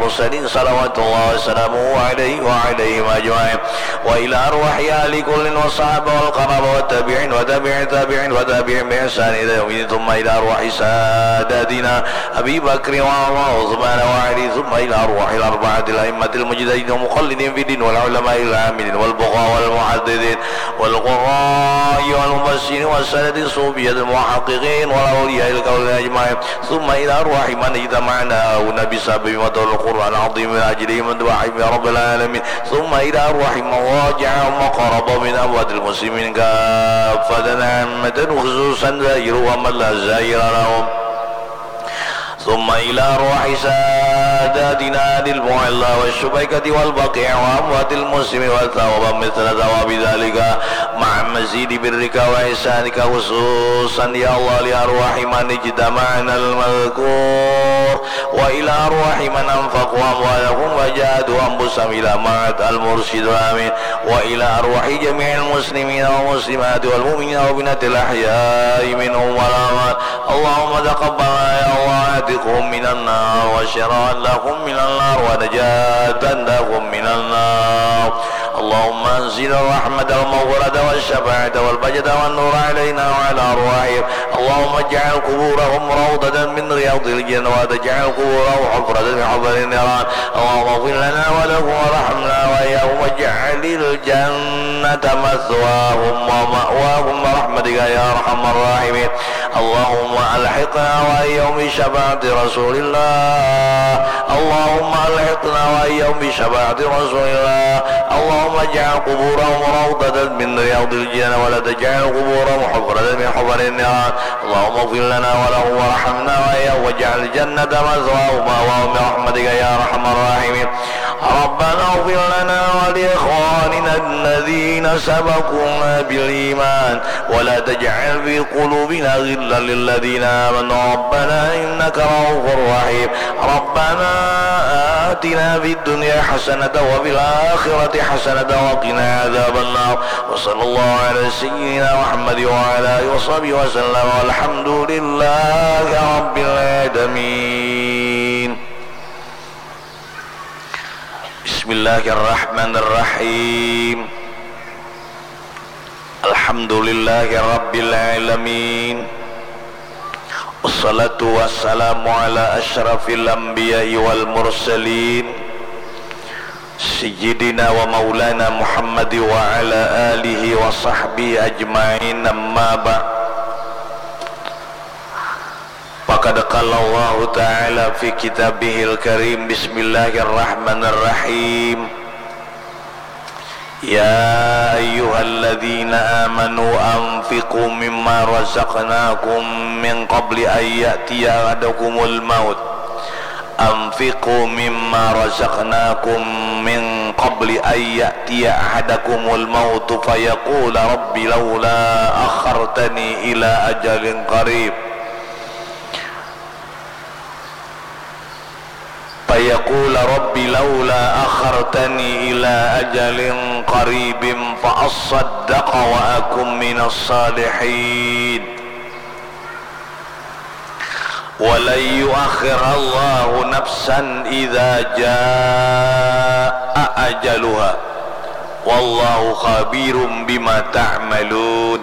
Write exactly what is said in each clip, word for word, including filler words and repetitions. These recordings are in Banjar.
المرسلين صلوات الله وسلامه عليه وعليهم أجمعين، وإلى أرواح أهل كل والصحابة والقرابة والتابعين وتابع التابعين وتابعين بإحسان إلى يوم الدين، ثم إلى أرواح ساداتنا أبي بكر وعمر وعثمان وعلي، ثم إلى أرواح الأربعة الأئمة المجتهدين المقلدين في الدين والعلماء العاملين والفقهاء والمحدثين والقراء والمفسرين والسادة الصوفية المحققين والأولياء الكونين أجمعين، ثم إلى أرواح من اجتمعنا هنا بسبب مطر القرآن العظيم من أجلهم أنت وحيهم يا رب العالمين، ثم إلى أرواح من راجعهم وقرب من أموات المسلمين كافة عامة خصوصا ظاهرهم ومن لا ظاهر لهم، ثم إلى أرواح ساداتنا أهل المعلى والشبيكة والبقيع وأموات المسلمين وثوابا مثل ثواب ذلك مع مزيد برك وإحسانك خصوصا يا الله لأرواح من اجتمعنا المذكور وإلى أرواح من أنفقوا أموالهم وجاهدوا أنفسهم إلى معهد المرشد الأمين وإلى أرواح جميع المسلمين والمسلمات والمؤمنين والمؤمنات الأحياء منهم والأموات. اللهم تقبل يا الله عتقهم من النار وشراء لهم من النار ونجاة لهم من النار. اللهم أنزل الرحمة والمغفرة والشفاعة والبهجة والنور علينا وعلى أرواحهم. اللهم اجعل قبورهم روضة من رياض الجنة ولا تجعل قبورهم حفرة من حفر النيران. اللهم اغفر لنا ولهم وارحمنا وإياهم واجعل الجنة مثواهم ومأواهم برحمتك يا أرحم الراحمين. اللهم ألحقنا وإياهم بشفاعة رسول الله. اللهم ألحقنا وإياهم بشفاعة رسول الله. اللهم اجعل قبورهم روضة من رياض الجنة ولا تجعل قبورهم حفرة من حفر النيران. اللهم اغفر لنا ولهم وارحمنا وإياهم واجعل الجنة مثواهم ومأواهم برحمتك يا أرحم الراحمين. ربنا اغفر لنا ولإخواننا الذين سبقونا بالإيمان ولا تجعل في قلوبنا غلا للذين آمنوا ربنا إنك رؤوف رحيم. ربنا آتنا في الدنيا حسنة وفي الآخرة حسنة وقنا عذاب النار. وصلى الله على سيدنا محمد وعلى آله وصحبه وسلم والحمد لله رب العالمين. بسم الله الرحمن الرحيم. الحمد لله رب العالمين. والصلاة والسلام على أشرف الأنبياء والمرسلين سيدنا ومولانا محمد وعلى آله وصحبه أجمعين أما بعد. فقد قال الله تعالى في كتابه الكريم بسم الله الرحمن الرحيم يا أيها الذين آمنوا أنفقوا مما رزقناكم من قبل أن يأتي أحدكم الموت أنفقوا مما رزقناكم من قبل أن يأتي أحدكم الموت فيقول رب لولا أخرتني إلى أجل قريب فيقول رب لولا أخرتني إلى أجل قريب فأصدق وأكن من الصالحين ولن يؤخر الله نفسا إذا جاء أجلها والله خبير بما تعملون.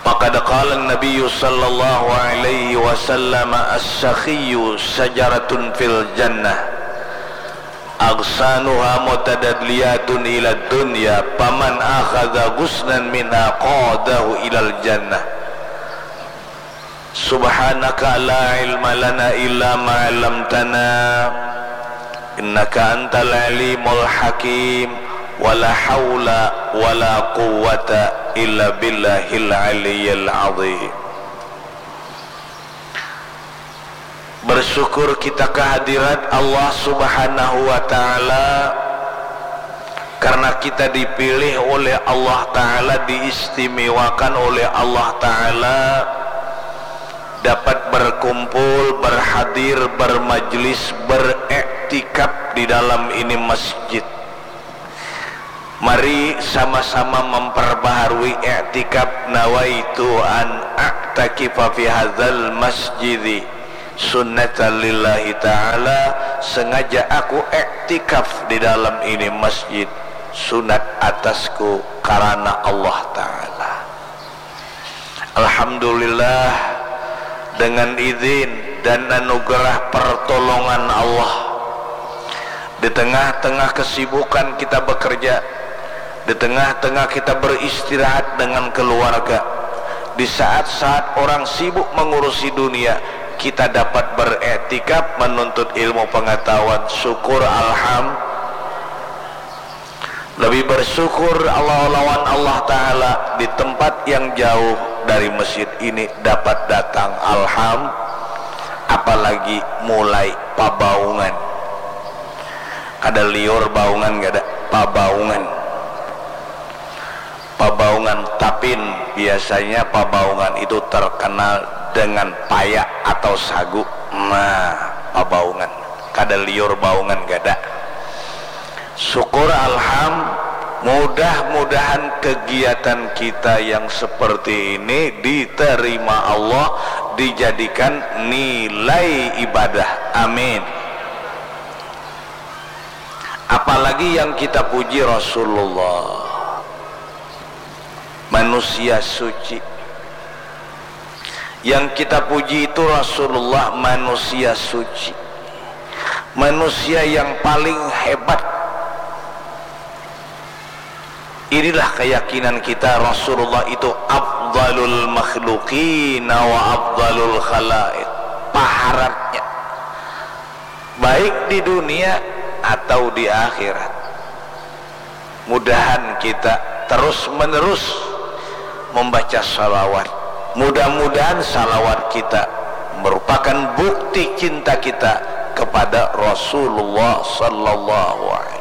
فقد قال النبي صلى الله عليه وسلم السخي شجرة في الجنة أغصانها متدلية إلى الدنيا فمن أخذ غصنا منها قاده إلى الجنة. سبحانك لا علم لنا إلا ما علمتنا إنك أنت العليم الحكيم ولا حول ولا قوة إلا بالله العلي العظيم. Bersyukur kita kehadirat Allah Subhanahu wa Ta'ala karena kita dipilih oleh Allah Ta'ala, diistimewakan oleh Allah Ta'ala dapat berkumpul, berhadir, bermajlis, beriktikaf di dalam ini masjid. Mari sama-sama memperbaharui iktikaf, nawaitu an a'takifa fi hadzal masjidi sunnatan lillahi ta'ala Sengaja aku iktikaf di dalam ini masjid, sunat atasku karana Allah Ta'ala. Alhamdulillah, dengan izin dan anugerah pertolongan Allah, di tengah-tengah kesibukan kita bekerja, di tengah-tengah kita beristirahat dengan keluarga, di saat-saat orang sibuk mengurusi dunia, kita dapat beriktikaf menuntut ilmu pengetahuan. Syukur, alham. Lebih bersyukur Allah lawan Allah Ta'ala di tempat yang jauh dari masjid ini dapat datang, alham. Apalagi mulai pabaungan. Kada liur baungan, kada, pabaungan. Pabaungan Tapin, biasanya pabaungan itu terkenal dengan payak atau sagu. Nah, pabaungan. Kada liur baungan, kada. Syukur, alham. Mudah-mudahan kegiatan kita yang seperti ini diterima Allah, dijadikan nilai ibadah. Amin. Apalagi yang kita puji Rasulullah, manusia suci. Yang kita puji itu Rasulullah, manusia suci, manusia yang paling hebat. Inilah keyakinan kita, Rasulullah itu afdalul makhluqina wa afdalul khalaiq, paharatnya, baik di dunia atau di akhirat. Mudahan kita terus-menerus membaca salawat. Mudah-mudahan salawat kita merupakan bukti cinta kita kepada Rasulullah sallallahu alaihi.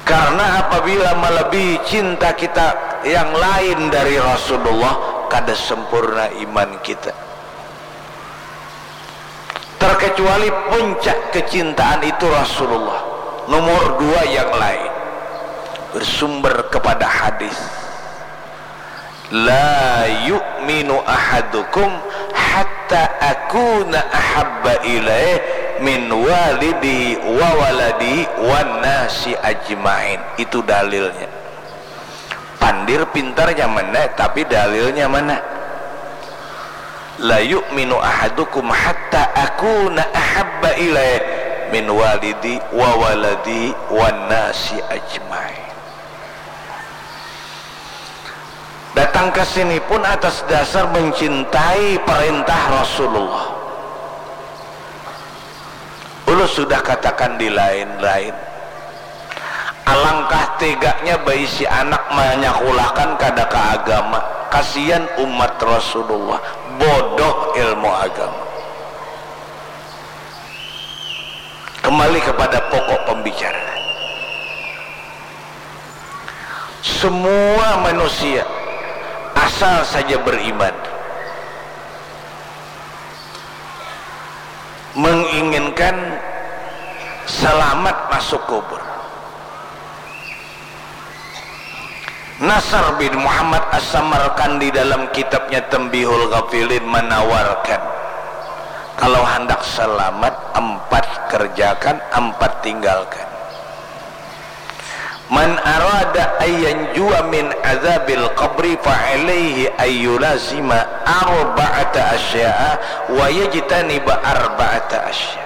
Karena apabila melebihi cinta kita yang lain dari Rasulullah, kada sempurna iman kita. Terkecuali puncak kecintaan itu Rasulullah. Nomor dua yang lain bersumber kepada hadis, "La yu'minu ahadukum hatta akuna ahabba ilaih min walidihi wa waladihi wan nasi ajmain." Itu dalilnya. Pandir pintarnya mana, tapi dalilnya mana? "La yu'minu ahadukum hatta akuna ahabba ilaih min walidi wa waladi wan nasi ajmain." Datang ke sini pun atas dasar mencintai perintah Rasulullah. Ulun sudah katakan di lain-lain. Alangkah teganya baisi anak manyakulahkan kada ka agama. Kasian umat Rasulullah, bodoh ilmu agama. Kembali kepada pokok pembicaraan. Semua manusia asal saja beriman menginginkan selamat masuk kubur. Nasar bin Muhammad As-Samarkandi dalam kitabnya Tanbihul Ghafilin menawarkan, kalau handak selamat, empat kerjakan, empat tinggalkan. "Man arada ayyanjua min azabil qabri fa alaihi ayyulazima arba'ata asya'a wa yajtaniba arba'ata asya."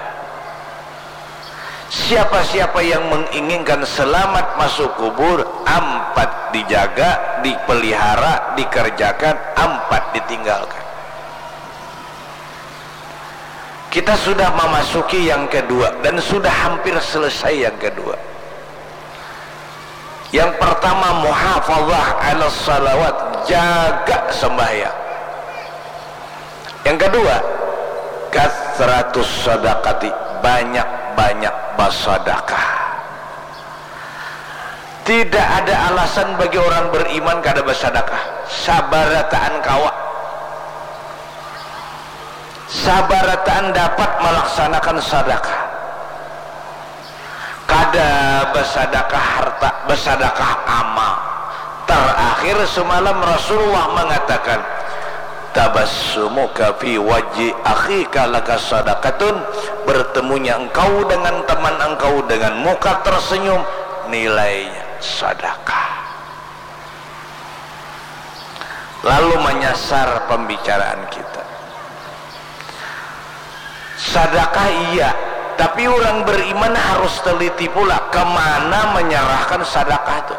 Siapa-siapa yang menginginkan selamat masuk kubur, ampat dijaga, dipelihara, dikerjakan, ampat ditinggalkan. Kita sudah memasuki yang kedua dan sudah hampir selesai yang kedua. Yang pertama, muhafazah ala salawat, jaga sembahyang. Yang kedua, kathratus sadaqati, banyak-banyak basadakah. Tidak ada alasan bagi orang beriman kada basadakah. Sabarataan kawa, sabarataan dapat melaksanakan sadakah. Kada basadakah harta, basadakah amal. Terakhir semalam Rasulullah mengatakan, Tabassumuka fi wajhi akhika laka sadaqatun, bertemunya engkau dengan teman engkau dengan muka tersenyum, nilainya sadakah. Lalu menyasar pembicaraan kita. Sadakah iya, tapi orang beriman harus teliti pula kemana menyerahkan sadakah tu.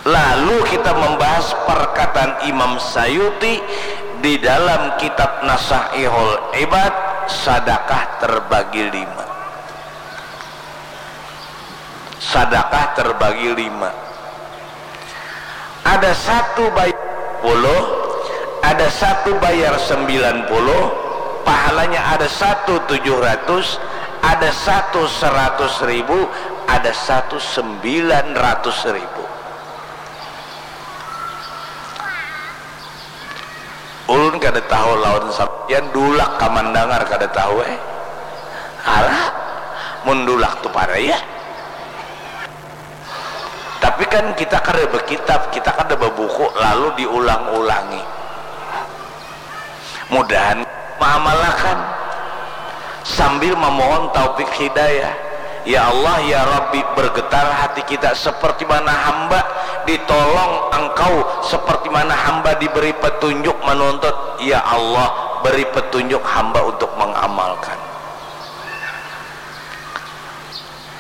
Lalu kita membahas perkataan Imam Sayuti di dalam kitab Nasaihul Ibad, sadakah terbagi lima. Sadakah terbagi lima. Ada satu bayar puluh, ada satu bayar sembilan puluh, pahalanya ada satu tujuh ratus, ada satu seratus ribu, ada satu sembilan ratus ribu. Ulun kada tahu lawan sampian, dulak kamandangar kada tahu eh. Alah, mun dulak tu paraya. Tapi kan kita kada bekitab, kita kada bebuku lalu diulang-ulangi. Mudahan mengamalakan sambil memohon taufik hidayah. Ya Allah, ya Rabbi, bergetar hati kita seperti mana hamba ditolong Engkau, seperti mana hamba diberi petunjuk menuntut. Ya Allah, beri petunjuk hamba untuk mengamalkan.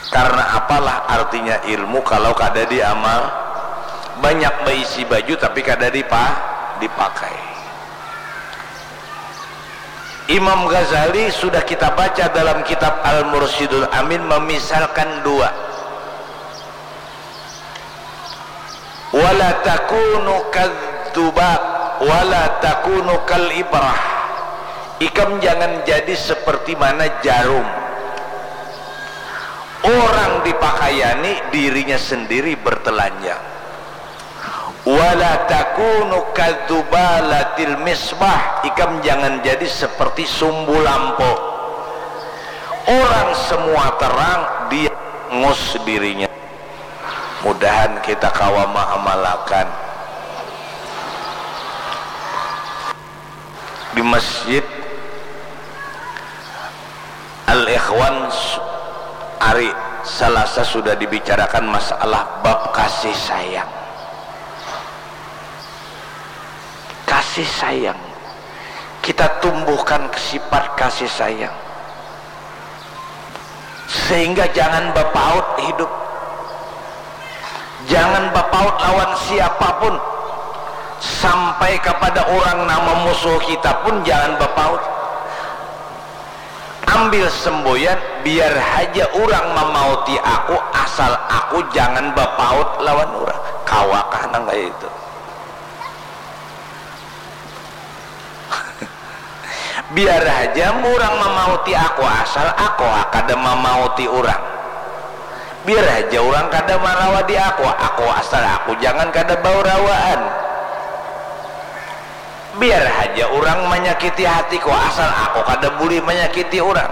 Karena apalah artinya ilmu kalau kada diamal? Banyak beisi baju tapi kada dipa dipakai. Imam Ghazali sudah kita baca dalam kitab Al-Mursyidul Amin memisalkan dua. Wala takunu kadzubab, wala takunu kal ibrah. Ikam jangan jadi seperti mana jarum. Orang dipakayani, dirinya sendiri bertelanjang. Wala takunu kadzubalatil misbah, ikam jangan jadi seperti sumbu lampu. Orang semua terang, dia ngus dirinya. Mudahan kita kawa maamalakan. Di masjid Al-Ikhwan hari Salasa sudah dibicarakan masalah bab kasih sayang. Kasih sayang. Kita tumbuhkan sifat kasih sayang. Sehingga jangan bapaut hidup. Jangan bapaut lawan siapapun. Sampai kepada orang nang memusuh kita pun jangan bapaut. Ambil semboyan, biar haja orang memauti aku, asal aku jangan bapaut lawan orang. Kawakah nang kaya itu? Biar haja urang mamauti aku asal aku kada mamauti urang. Biar haja urang kada marawadi aku, aku asal aku jangan kada baurawaan. Biar haja urang manyakiti hatiku asal aku kada bulih manyakiti urang.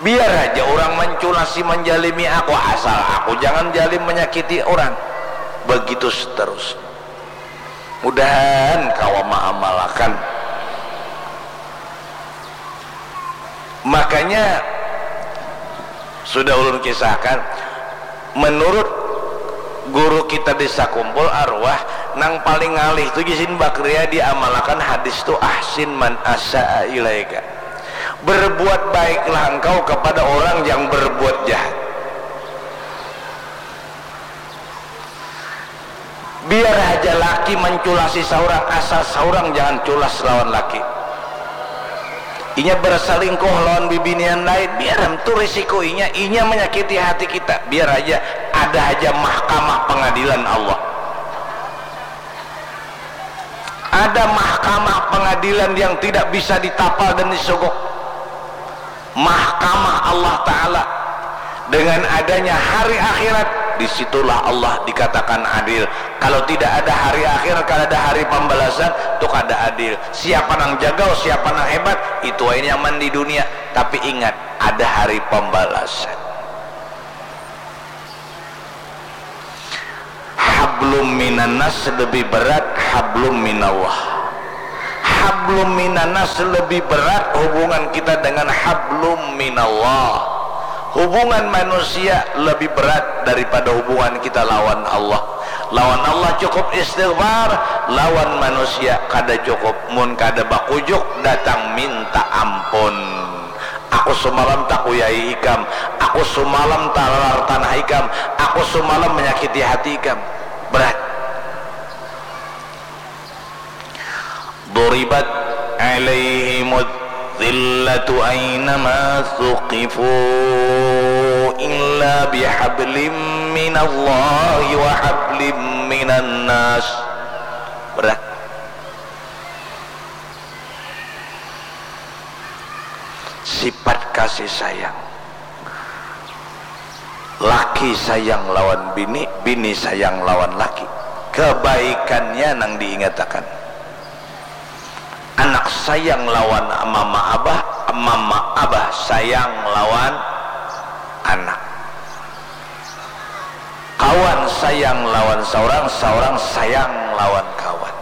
Biar haja urang manculasi manjalimi aku asal aku jangan jalim manyakiti urang. Begitu seterusnya. Mudahan kawa maamalakan. Makanya sudah ulun kisahkan, menurut guru kita di Sakumpul Arwah, nang paling ngalih tu jisin bakria diamalakan hadis tu, ahsin man asaa ilaika, berbuat baiklah engkau kepada orang yang berbuat jahat. Biar haja laki manculasi saurang, asal saurang jangan culas lawan laki. Inya berselingkuh lawan bibinian lain, biar tu risiko inya, inya menyakiti hati kita. Biar haja, ada haja mahkamah pengadilan Allah. Ada mahkamah pengadilan yang tidak bisa ditapal dan disogok. Mahkamah Allah Ta'ala. Dengan adanya hari akhirat, disitulah Allah dikatakan adil. Kalau tidak ada hari akhirat, kada ada hari pambalasan, tu kada adil. Siapa nang jagau, siapa nang hebat, itu ai nyaman di dunia. Tapi ingat, ada hari pambalasan. Hablum minannas lebih berat hablum minallah. Hablum minannas lebih berat hubungan kita dengan hablum minallah. Hubungan manusia lebih berat daripada hubungan kita lawan Allah. Lawan Allah cukup istighfar, lawan manusia kada cukup. Mun kada bakujuk, datang minta ampun. Aku sumalam takuyai ikam, aku sumalam talalar tanah ikam, aku sumalam manyakiti hati ikam. Berat. Duribat alaihimud dzillatu ainama thuqifu illa bihablim minallahi wa hablim minannas. Berat. Sifat kasih sayang. Laki sayang lawan bini, bini sayang lawan laki. Kebaikannya nang diingatakan. Anak sayang lawan mama abah, mama abah sayang lawan anak. Kawan sayang lawan saurang, saurang sayang lawan kawan.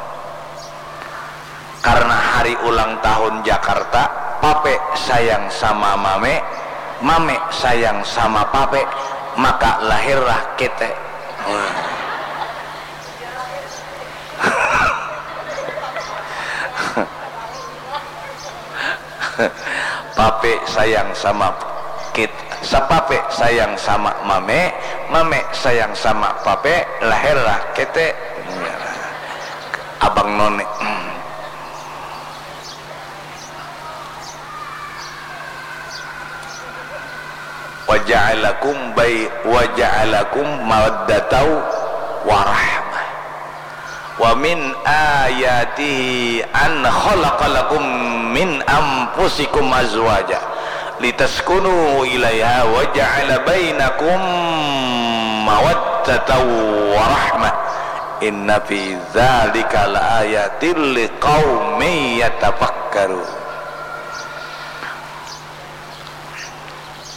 Karena hari ulang tahun Jakarta, pape sayang sama mame, mame sayang sama pape, maka lahirlah kite. Pape sayang sama kit, sapape sayang sama mame, mame sayang sama pape, lahirlah kete. Abang none. Wa ja'alakum bai-, wa ja'alakum mawaddatan wa rahmah. Wa min ayatihi an khalaqa lakum min anfusikum azwaja litaskunu ilaiha wa ja'ala bainakum mawaddatan wa rahmah. Inna fi dzalika laayatil liqaumin yatafakkarun.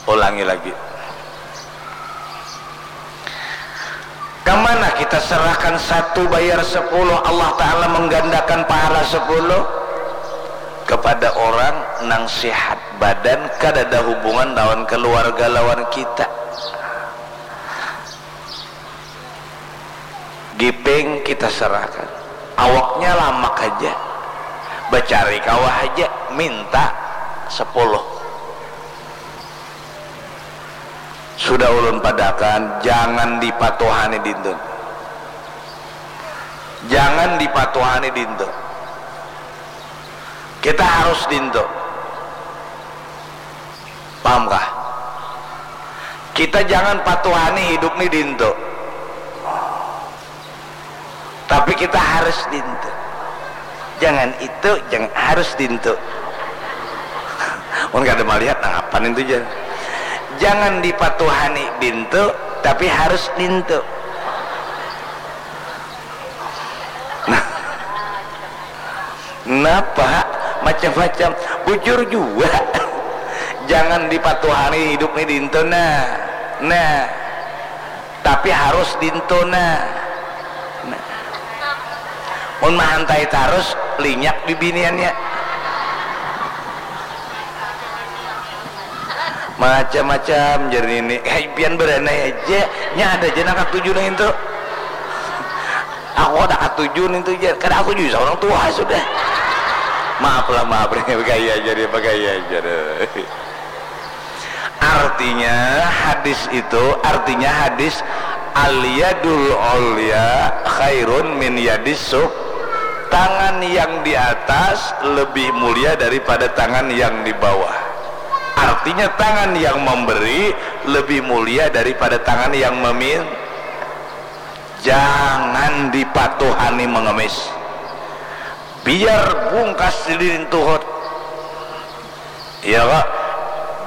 Ulangi lagi. Kamana kita serahkan satu bayar sepuluh, Allah Ta'ala menggandakan pahala sepuluh? Kepada orang nang sehat badan, kadada hubungan lawan keluarga lawan kita. Giping kita serahkan. Awaknya lamak haja. Bacari kawa haja, minta sepuluh. Sudah ulun padakan, jangan dipatuhani dintu. Jangan dipatuhani dintu. Kita harus dintu. Paham kah? Kita jangan patuhani hidup ni dintu. Tapi kita harus dintu. Jangan itu, jangan, harus dintu. Mun kada malihat, nang apa nintu jar? Jangan dipatuhani dintu, tapi harus dintu. Nah, napa? Macam-macam. Bujur jua. Jangan dipatuhani hidup ni dintu, nah. Nah. Tapi harus dintu, nah. Nah. Mun mahantai tarus, linyak bibiniannya. Macam-macam jar nini. Hei, pian beranai aja. Nya ada aja nang katuju nang itu. Aku kada katuju nintu jar. Kada katuju saurang tuha sudah. Maaf lah, maaf. Bagaya aja dia, bagaya aja deh. Artinya hadis itu, artinya hadis al-yadul ulya khairun min yadis suf. Tangan yang di atas lebih mulia daripada tangan yang di bawah. Artinya tangan yang memberi lebih mulia daripada tangan yang memin-, jangan dipatuhani mengemis. Biar bungkas lilin tuhut. Iya kah?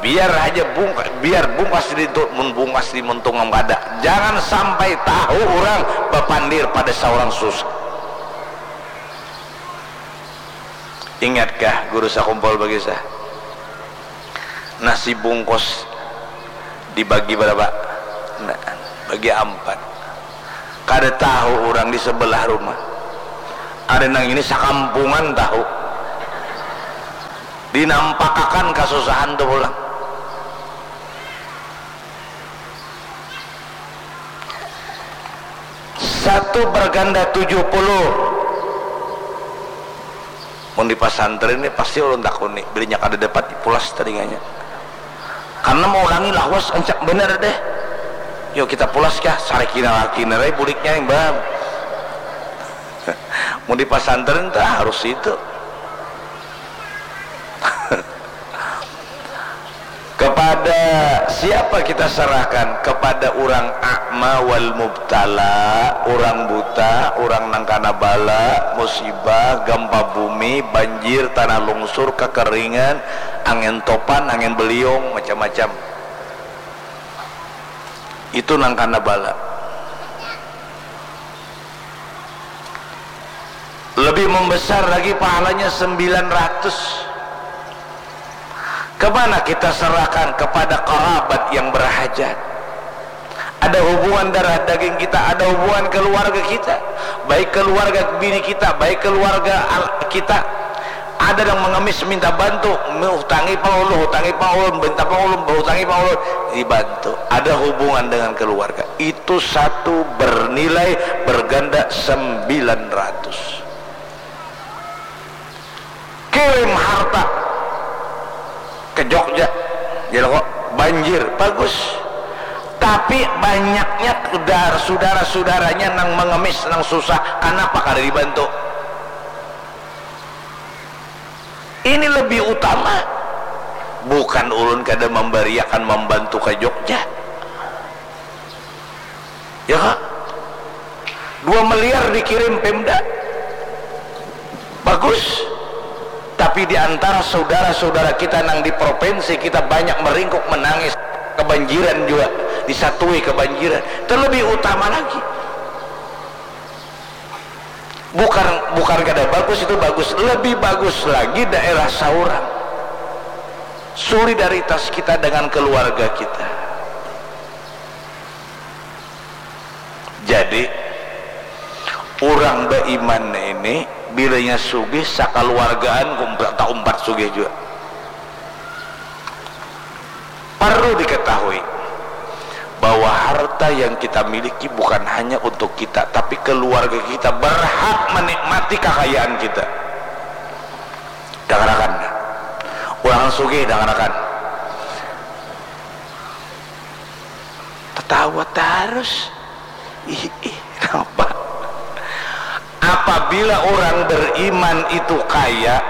Biar haja bungka-, biar bungkas di tu-, mun bungkas di muntung am kada. Jangan sampai tahu urang bapandir pada saurang susah. Ingatkah guru sakumpul bakisah? Nasi bungkus dibagi berapa? Nah, bagi ampat. Kada tahu urang di sebelah rumah. Ada nang ini sakampungan tahu. Dinampakakan kasusahan tu pulang. Satu berganda tujuh puluh. Mun di pasantren ni pasti ulun takuni, bilanya kada dapat dipulas talinganya. Karena maulangi lawas ancak banar deh. Yuk kita pulas kah, sarikina laki narai buliknya imbang. Mun di pasantren tu harus itu. Kepada siapa kita serahkan? Kepada urang a'ma wal mubtala, urang buta, urang nang kana bala, musibah, gampa bumi, banjir, tanah lungsur, kakeringan, angin topan, angin beliung, macam-macam. Itu nang kana bala. Lebih membesar lagi pahalanya sembilan ratus. Kemana kita serahkan? Kepada kerabat yang berhajat. Ada hubungan darah daging kita, ada hubungan keluarga kita. Baik keluarga bini kita, baik keluarga al-, kita. Ada yang mengemis minta bantu, hutangi pang ulun, hutangi pang ulun, minta pang ulun, hutangi pang ulun, dibantu. Ada hubungan dengan keluarga. Itu satu bernilai berganda sembilan ratus. Kirim harta ke Jogja, ya kok, banjir, bagus. Tapi banyaknya dar-, saudara-saudaranya nang mengemis, nang susah, kenapa kada dibantu? Ini lebih utama. Bukan ulun kada memberiakan membantu ke Jogja. Ya kak? Dua miliar dikirim Pemda. Bagus. Tapi di antara saudara-saudara kita nang di provinsi kita banyak meringkuk menangis. Kebanjiran juga. Disatui kebanjiran. Itu lebih utama lagi. Bukan, bukan kada bagus, itu bagus. Lebih bagus lagi daerah saurang. Solidaritas kita dengan keluarga kita. Jadi, urang baiman ini bilanya sugih sakaluargaan, kumpa-, taumpat sugih jua. Parlu diketahui bahwa harta yang kita miliki bukan hanya untuk kita, tapi keluarga kita berhak menikmati kakayaan kita. Dangarakan. Urang sugih, dangarakan. Tatawa tarus. Ih, ih, napa? Apabila orang beriman itu kaya,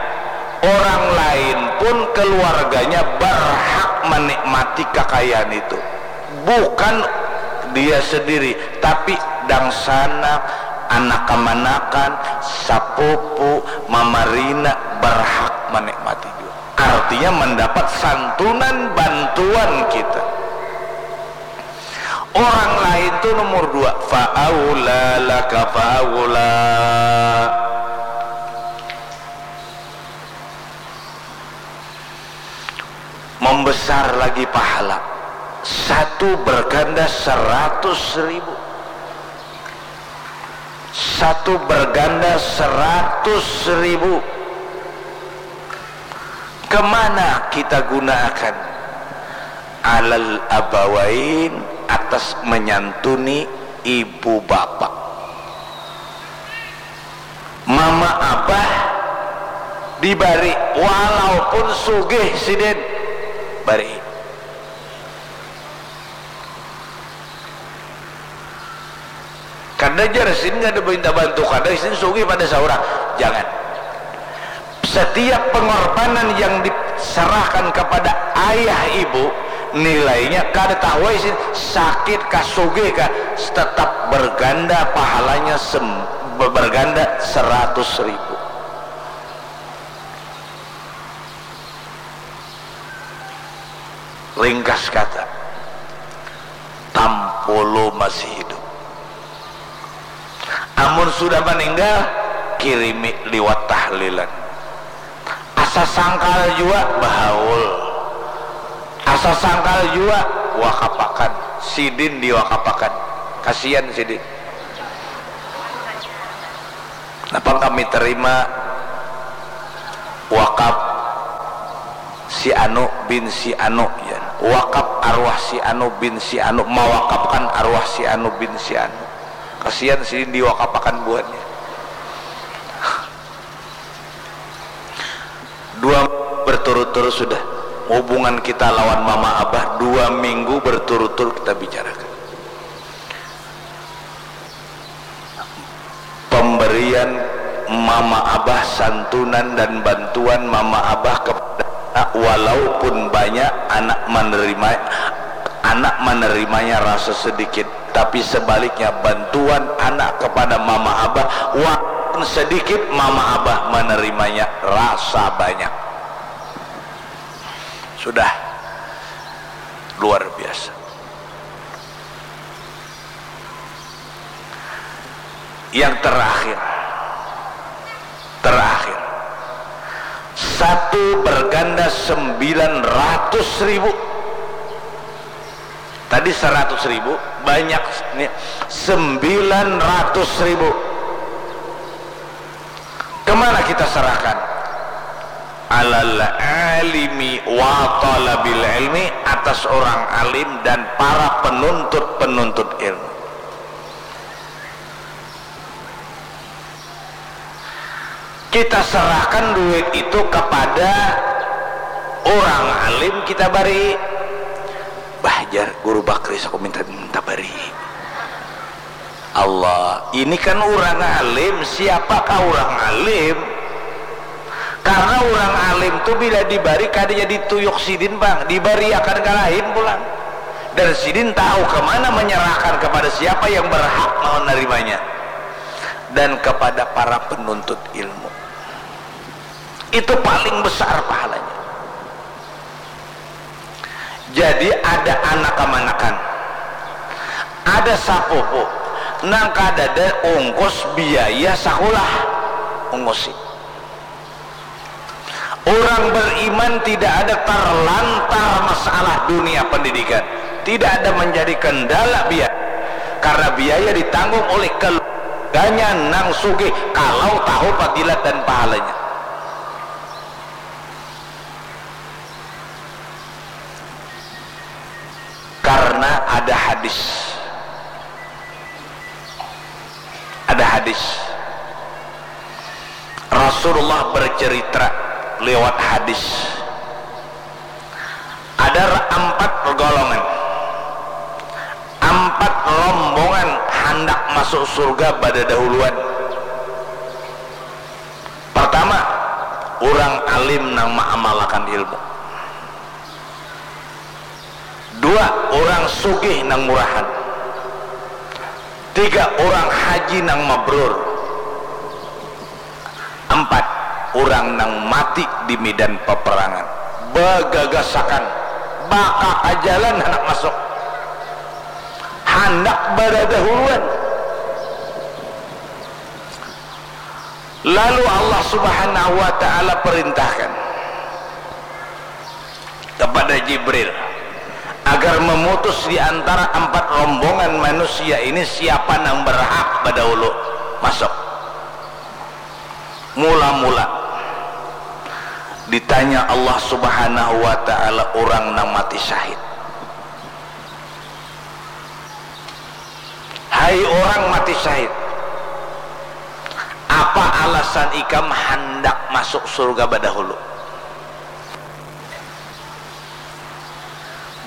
orang lain pun keluarganya berhak menikmati kakayaan itu. Bukan dia sendiri, tapi dangsanak, anak kamanakan, sapupu, mamarina berhak menikmati juga. Artinya mendapat santunan bantuan kita. Orang lain tu nomor dua. Fa'aula laka fa'aula. Membesar lagi pahala. Satu berganda seratus ribu. Satu berganda seratus ribu. Kemana kita gunakan? Alal abawain, atas menyantuni ibu bapak. Mama abah dibari, walaupun sugih sidin, bari. Kada jar sidin kada minta bantu, kada, sidin sugih pada saurang. Jangan. Setiap pengorbanan yang diserahkan kepada ayah ibu, nilainya kada tahu ai sidin sakit kah, sugih kah, tetap berganda pahalanya sem-, berganda seratus ribu. Ringkas kata, Tampulu masih hidup. Amun sudah maninggal, kirimi liwat tahlilan. Asa sangkal jua bahaul. Asa sangkal jua wakapakan. Sidin diwakapakan. Kasian sidin. Napa kami terima wakaf si anu bin si anu, ya. Wakaf arwah si anu bin si anu, mawakafkan arwah si anu bin si anu. Kasihan sidin diwakafakan buhannya. Dua berturut-turut sudah hubungan kita lawan mama abah, dua minggu berturut-turut kita bicarakan. Pemberian mama abah, santunan dan bantuan mama abah kepada anak, walaupun banyak, anak menerima, anak menerimanya rasa sedikit. Tapi sebaliknya, bantuan anak kepada mama abah, walaupun sedikit, mama abah menerimanya rasa banyak. Sudah luar biasa. Yang terakhir, terakhir, satu berganda sembilan ratus ribu. Tadi seratus ribu, banyak nih, sembilan ratus ribu. Kemana kita serahkan? Alal alimi wa talabil ilmi, atas orang alim dan para penuntut-penuntut ilmu. Kita serahkan duit itu kepada orang alim, kita bari. Bah, jar Guru Bakri, aku minta, minta bari. Allah, ini kan orang alim, siapakah orang alim? Karena orang alim tu bila dibari kada jadi tuyuk sidin, Bang, dibari akan kalahin pulang. Dan sidin tahu kemana menyerahkan, kepada siapa yang berhak menerimanya. Dan kepada para penuntut ilmu. Itu paling besar pahalanya. Jadi ada anak kamanakan, ada sapupu nang kadada ungkus biaya sakulah, ungusi. Orang beriman tidak ada terlantar masalah dunia pendidikan, tidak ada menjadi kendala biaya, karena biaya ditanggung oleh keluarganya nang sugih kalau tahu fadilat dan pahalanya. Karena ada hadis. Ada hadis. Rasulullah bercerita lewat hadis. Ada empat golongan, empat rombongan handak masuk surga badadahuluan. Pertama, orang alim nang maamalakan ilmu. Dua, orang sugih nang murahan. Tiga, orang haji nang mabrur. Empat, orang nang mati di medan peperangan. Bagagasakan, bakakajalan handak masuk. Handak badadahuluan. Lalu Allah Subhanahu wa Ta'ala perintahkan kepada Jibril agar memutus di antara empat rombongan manusia ini siapa nang berhak badahulu masuk. Mula-mula ditanya Allah Subhanahu wa Ta'ala orang nang mati syahid. Hai orang mati syahid, apa alasan ikam handak masuk surga badahulu?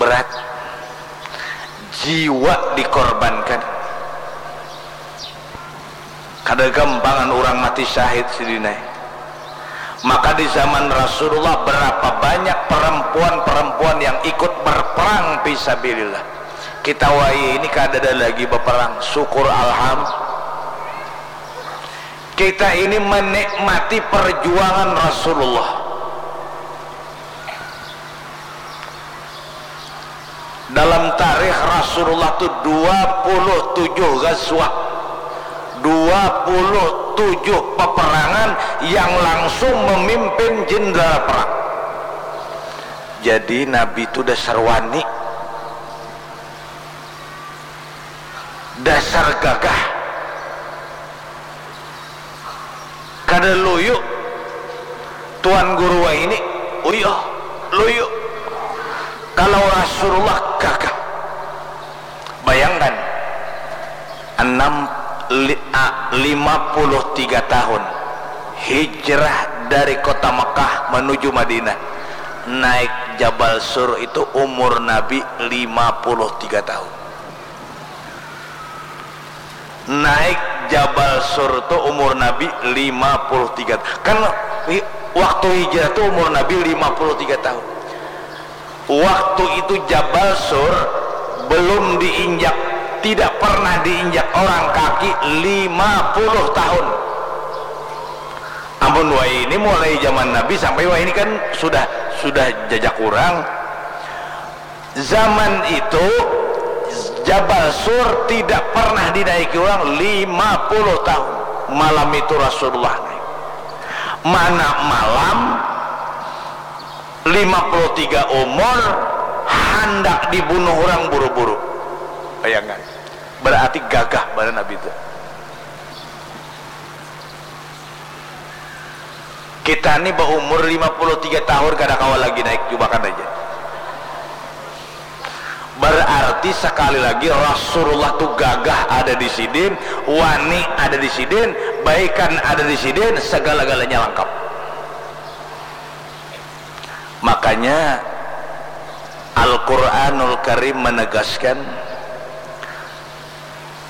Berat. Jiwa dikorbankan. Kada gampangan urang mati syahid sidin ai. Maka di zaman Rasulullah, berapa banyak perempuan-perempuan yang ikut berperang fisabilillah. Kita wayah ini kadada lagi beperang, syukur alham. Kita ini menikmati perjuangan Rasulullah. Dalam tarikh Rasulullah tu dua puluh tujuh ghazwah, dua puluh tujuh peperangan yang langsung memimpin jenderal perang. Jadi Nabi tu dasar wani, dasar gagah. Ada luyu, Tuan Guru wahini, uyuh, luyu. Kalau Rasulullah gagah. Bayangkan, enam, li, a, lima puluh tiga tahun hijrah dari kota Mekah menuju Madinah, naik Jabal Sur itu umur Nabi lima puluh tiga tahun. Naik Jabal Sur tu umur Nabi lima puluh tiga. Kan waktu hijrah tu umur Nabi lima puluh tiga tahun. Waktu itu Jabal Sur belum diinjak, tidak pernah diinjak orang kaki lima puluh tahun. Amun wahini mulai zaman Nabi sampai wahini kan sudah sudah jajak urang. Zaman itu Jabal Sur tidak pernah dinaiki orang lima puluh tahun. Malam itu Rasulullah naik. Mana malam lima puluh tiga umur handak dibunuh orang buru-buru. Bayangkan. Berarti gagah banar Nabi itu. Kita ni baumur lima puluh tiga tahun kada kawa lagi naik, cubakan aja. Berarti sekali lagi Rasulullah tu gagah ada di sidin, wani ada di sidin, baikan ada di sidin, segala-galanya lengkap. Makanya Al-Quranul Karim menegaskan,